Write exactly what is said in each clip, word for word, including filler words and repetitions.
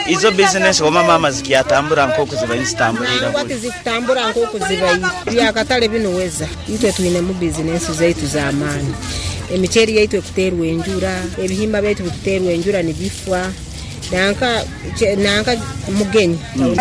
Izo bizinesi oba mama zikyatambura nk'oku zibaire nizitambura? Nangwa tizikutambura nk'oku zibaire. Byakatale binu weza itwe twinemu bizinesi zaitu z'amaani. Emiceeri yaitu ekuteerwa enjura, ebihimba byaitu bikuteerwa enjura nibifa, nanka nanka mugenyi.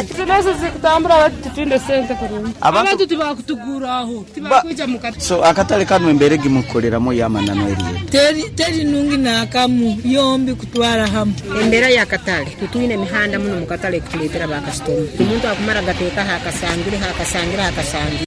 Bizinesi zikutambura baitu titwine sente kurungi. Abantu tibakutuguraho, tibakwija mu katale. So akatale kanu embeera egimukukoleramu ey'amananu eriyo? Teri teri nungi n'akamu, yombi kutwara hamu. Embeera y'akatale, tutwine emihanda muno mu katale ekutuleetera bakasitoma. Omuntu akumara gateekaho akasangire akasangire akasangire.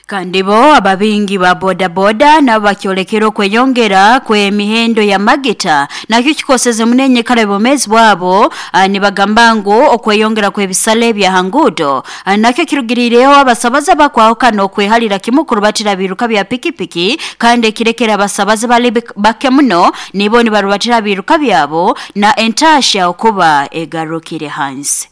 Kandi bo ababingi ba bodaboda nabo bakyolekera okweyongera kw'emihendo ya magita nakyo kikoseze muno enyikara y'obwomeezi bwabo. Nibagamba ngu okweyongera kw'ebisale bya ha nguudo nakyo kirugiriireho abasabaza bakwahukana okwehalira kimu kurubatira biiruka bya pikipiki, kandi ekirekera abasabazi bali bake muno nibo nibarubatira biiruka byabo na entaahya okuba egarukire hansi.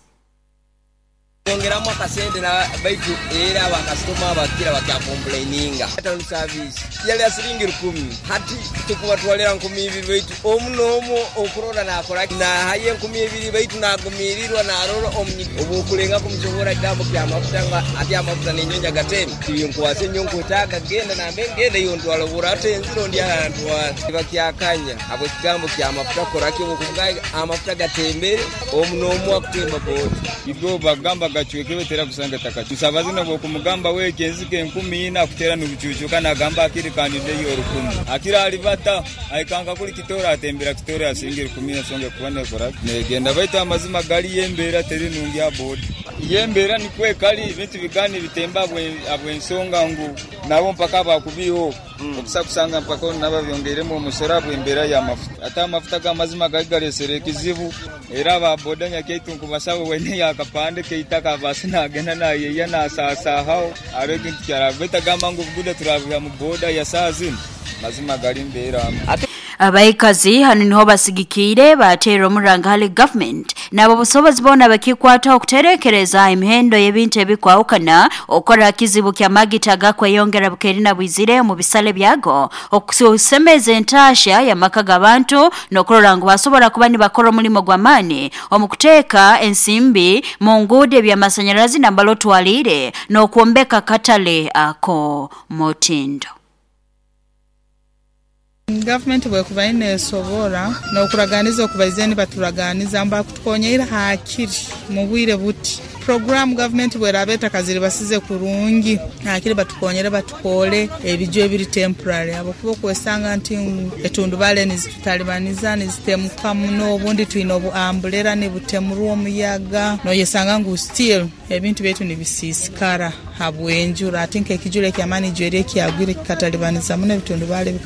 Yongeramu akasente na baitu era bakasitoma bakira bakyakomplaininga. Town service yali ya siringi rukumi, hati tukubatwalira nkumi ibiri, baitu omu n'omu okurora nakora nahayo enkumi ibiri, baitu nagumirirwa narora obu okulenga kumusohora kigambo kyamafuta nga ati amafuta nenyonyi agateme nkwasa enyo nkwetaaga genda nambe ngenda iyo ntwala obura ate enziro ndi ntwala bakyakanya abo ekigambo kyamafuta koraki obukugaga amafuta gatembere omu n'omu akutemba boda. Igo bagamba gacweke betera kusanga taka musabazi nabwo kumugamba weke enzike enkumi ina akutera n'ubucucuka nagamba akiri kandide yo rukumi akira alibata aikanga kuli kitora atembera kitora asingira rukumi ensonga kubone kora negenda, baitu amazima gali yembeera teri nungi ya boda yembeera nikwe kali ebintu bigani bitemba abwensonga ngu nabo mpaka bakubiho okusa kusanga mpaka nabo byongeremu omusoro abwembeera y'amafuta ate amafuta g'amazima gali galesere ekizibu era ba boda nyakaitu nkubasaba wene yakapande keitaka basi nagenda nayeya nasaasahaho aro ekintu kyarabeta gamba ngu buguda turabiha mu boda ya saa zino mazima gali mbeera. Abaikazi hanu niho basigikiire bateera omuranga hali government nabo busobozi boona bakikwataho okuterekereza emihendo y'ebintu ebikwahukana, okukora kizibu kya magita gakweyongera bukeeri na bwizire omu bisale byago, okusemeza entaahya y'amaka g'abantu n'okurora ngu basobora kuba nibakora omulimo gw'amaani omu kuteeka ensimbi mu nguudo, ebyamasanyarazi nambala otwaliire n'okwombeka katale ako mutindo. Gavumenti bwekuba neesobora n'okuraganiza okubaize nibaturaganiza mbakutukonyeire hakiri mu bwire buti puroguramu gavumenti bweraaba etakaziribasize kurungi hakiri batukonyere batukole ebiju ebiri temporary, habwokuba okwesanga nti etundubale nizitutalibaniza nizitemuka muno, obundi twine obu umbrella nibutemurwa omuyaga, noyesanga ngu still ebintu byaitu nibisiisikara habw'enjura. Ati nk'ekijura eky'amaani ijweri ekyagwire kikatalibaniza muno ebitundubale.